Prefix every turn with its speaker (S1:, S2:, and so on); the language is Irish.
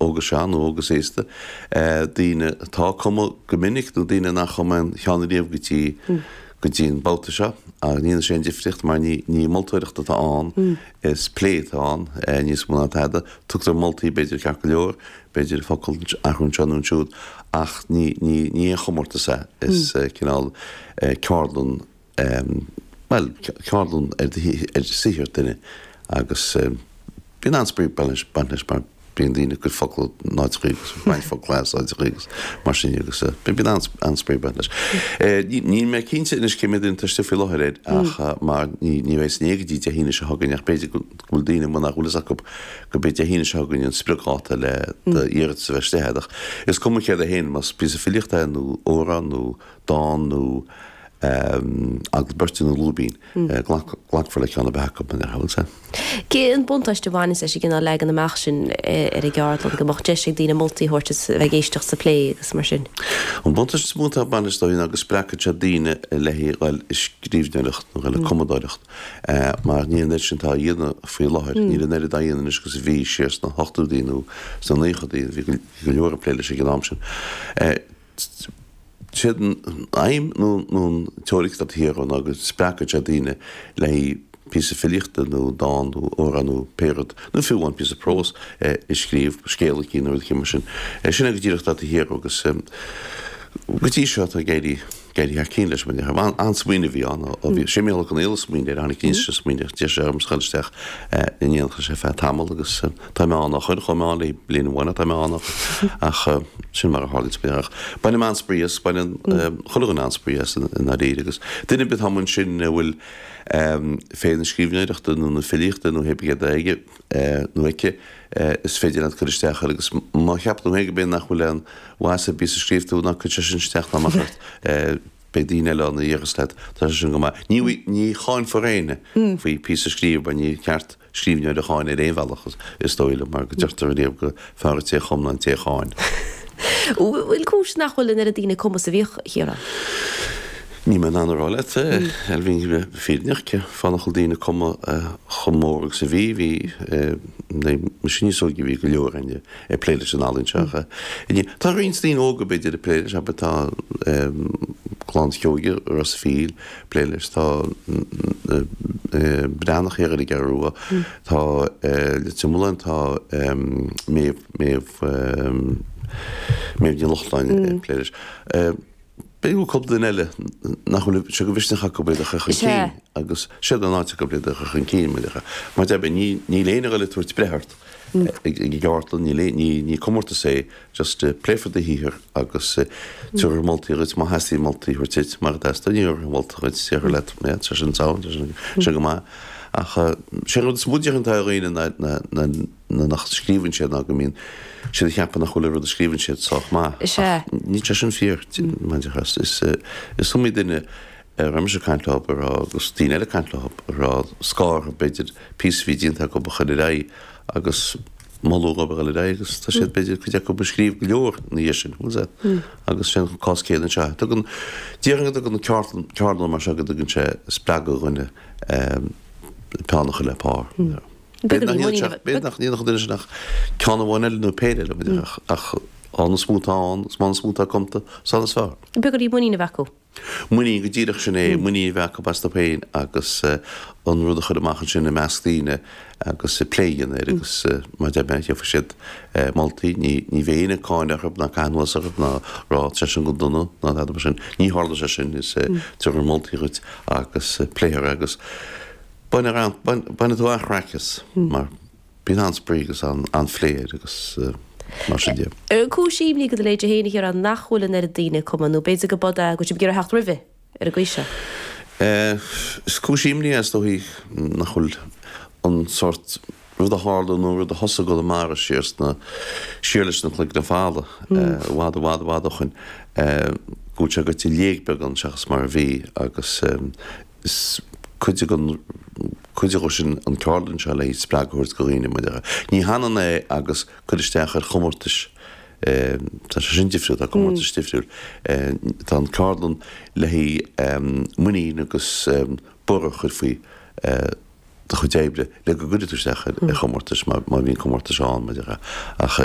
S1: Óg is sean nó óg is aosta, daoine atá ag cumadh go minic nó daoine nach chum aon cheann riamh go dtí go dtí an babhta seo. Ach ní dhéanann sé aon difríocht mar ní ní moltóireacht atá ann, is plé atá ann níos mó ná tada. Tugtar moltaí b'fhéidir ceart go leor, b'fhéidir focal athrú anseo nó ansiúd ach ní ní ní aon chomórtas é, is cineál ceardlann bhuel, ceardlann ar saothar duine agus bíonn an-spraoi ag baint leis mar bíonn daoine ag cur focal in áiteachaí agus ag baint focal as áiteachaí agus mar sin agus bíonn an-spraoi ag baint leis. Níl mé cinnte anois cé mhéad duine atá istigh faoi láthair air ach mar ní bheidh san éag go dtí Dé hAoine seo chugainn ach b'fhéidir go bhfuil daoine amuigh nach bhfuil fhios acu go b'é Dé hAoine seo chugainn an spriocdháta le d'iarratas a bheith istigh agat ach is cuma céard é féin más píosa filíochta é nó amhrán nó dán nó agallamh beirte nó lúibín. Glacfar le ceann ar bith acu, mar a dhearfá.
S2: Cén buntáiste a bhaineas leis an gcineál leagan amach sin ar an gceardlann, go mbeadh deis ag daoine moltaí a thabhairt is a bheith ag éisteacht sa phlé agus mar sin?
S1: An buntáiste is mó atá ag baint leis ná go spreagfaidh sé daoine le haghaidh dhul ag scríbhneoireacht nó dhul ag cumadóireacht mar níl an oiread sin atá á dhéanamh faoi láthair, níl an oiread á dhéanamh anois agus a bhí siar sna hochtóidí nó sna naochadaí, bhí go leor ag plé leis ag an am sin. Séard an aidhm nó an teoiric atá taobh thiar ná go spreagfaidh sé daoine le haghaidh píosa filíochta nó dán nó amhrán nó pé rud, nó fiú amháin píosa próis a scríobh, scéal eicínt nó rud eicínt mar sin. Sin é go díreach atá taobh thiar agus go dtí seo tá ag éirí ag éirí thar cinn leis mar déarfá. An-smaoineamh a bhí ann ó bhí sé Mícheál Ó Conghaile a smaoinigh air, tháinig aníos leis an smaoineamh, d'iarr sé ormsa dhul isteach in éineacht leis ar feadh tamall agus Tá mé ann ó shoin, chuaigh mé ann le bliain amháin ach tá mé ann ach sin mar a tharlaíonn sa ach bainim an-spraoi as, baineann chuile dhuine an-spraoi as i ndáiríre agus duine ar bith atá amuigh ansin a bhfuil féith na scríbhneoireachta nó na filíochta nó pé ar bith céard é aige nó aici is féidir leat cur isteach air agus má cheapann tú féin go mb'fhéidir nach bhfuil aon mhaitheas ar bith sa scríobh tú ná cuir sé sin isteach ná amach ort. Beidh daoine eile ann a dhéarfas leat, tá sé sin go maith. Ní, ní cháinfear éinne faoi phíosa a scríobh mar ní ceart scríbhneoir a cháineadh ar aon bhealach, is dóigh liom, mar go deirtear ariamh gur fearr an té a chum ná an té a cháin.
S2: Bhfuil cúis nach bhfuil an oiread daoine ag cumadh is a bhíodh, a Chiaráin?
S1: Níl mé in ann a rá leat, Ailbhe, a bheith fírinneach, cén fáth nach bhfuil daoine ag cumadh chomh mór agus a bhí. Bhí, nuair a bhí mise níos óige bhí go leor againne. ag plé leis an ealaín seo. Tá roinnt daoine óga b'fhéidir ag plé leis, abair tá clann Sheoige, Ros a' Mhíl, ag plé leis, tá Breathnach thiar ar an gCeathrú Rua, tá Leitir Mealláin, tá Méabh, Méabh, Méabh Ní Lochlainn ag plé leis. B'fhéidir go bhfuil cúpla duine eile nach bhfuil sé de mhisneach acu iad a chur chun cinn agus siad an áit acu iad a chur chun cinn mar mar deir mé ní níl éinne ag dul ag tabhairt breith ort ag an gceardlann níl ní ní comórtas é just pléifear do shaothar agus tabharfar moltaí dhuit má theastaíonn moltaí a thabhairt duit mura dteastaíonn ní thabharfar moltaí dhuit déarfar leat yeah tá sin sound tá sin sin go maith ach sé an rud is mó déarfainn atá ar dhaoine ná ná ná ná nach scríobhann siad ná go mbíonn siad ag ceapadh nach bhfuil an rud a scríobhann siad sách maith.
S2: Is ea.
S1: Ach níl sé sin fíor, mar a déarfá. Is, is iomaí duine a raibh mise ag caint leo, a raibh, agus daoine eile ag caint leo, a raibh scáth orthu, b'fhéidir, píosa a bhí déanta acu a chur ar aghaidh agus moladh dhóibh a dhul ar aghaidh agus tá siad, b'fhéidir, cuid acu ag scríobh go leor ina dhiaidh sin, bhfuil a fhios agat. Agus sin an cás céanna anseo. Tugann, déarfainn go dtugann ceardlann, ceardlann mar seo go dtugann sé spreagadh do dhuine peann a chur le pár. B'fhéidir nach ndéanfadh an duine sin ach ceann amháin eile nó péire eile, ach an is mó atá ann, is mó an is mó atá cumta, is ann is fearr.
S2: Beagáinín muinín a bheith acu.
S1: Muinín, go díreach sin é, muinín a bheith acu astu féin agus an rud a chur amach ansin i measc daoine agus plé a dhéanamh air agus mar a deir mé, gheobhaidh siad moltaí, ní bheidh éinne ag cáineadh orthu ná caitheamh anuas orthu ná rá tá sé sin go dona ná tada mar sin. Ní tharlóidh sé sin, is tabharfar moltaí dhuit agus pléifear é agus. Bainfidh tú an-chraic as mar bíonn an-spraoi agus an-phlé air agus mar sin
S2: de. Cúis imní do do leithéid féin, a Chiaráin, nach bhfuil an oiread daoine ag cumadh nó b'fhéidir go b'fhada go bhfuil sibh ag iarraidh theacht roimhe ar an gcaoi seo?
S1: Is cúis imní é is dóichí nach bhfuil an sórt rud a tharla nó rud a thosaigh i gConamara siar sna, siar leis na Cloigne Fada, i bhfad i bhfad i bhfad ó shoin, go bhfuil sé gaibhte i léig beagán seachas mar a bhí agus Is cuid den cuid de sin an ceardlann seo le spreagadh a thabhairt do dhaoine mar a déarfá. Ní hionann é agus cur isteach ar chomórtais, tá sé sin difriúil, tá comórtais difriúil. Tá an ceardlann le haghaidh muinín agus borradh a chur faoi. do chuid oibre le go gcuirfidh tú isteach ar chomórtais má bhíonn comórtais ann, mar a déarfá. Ach.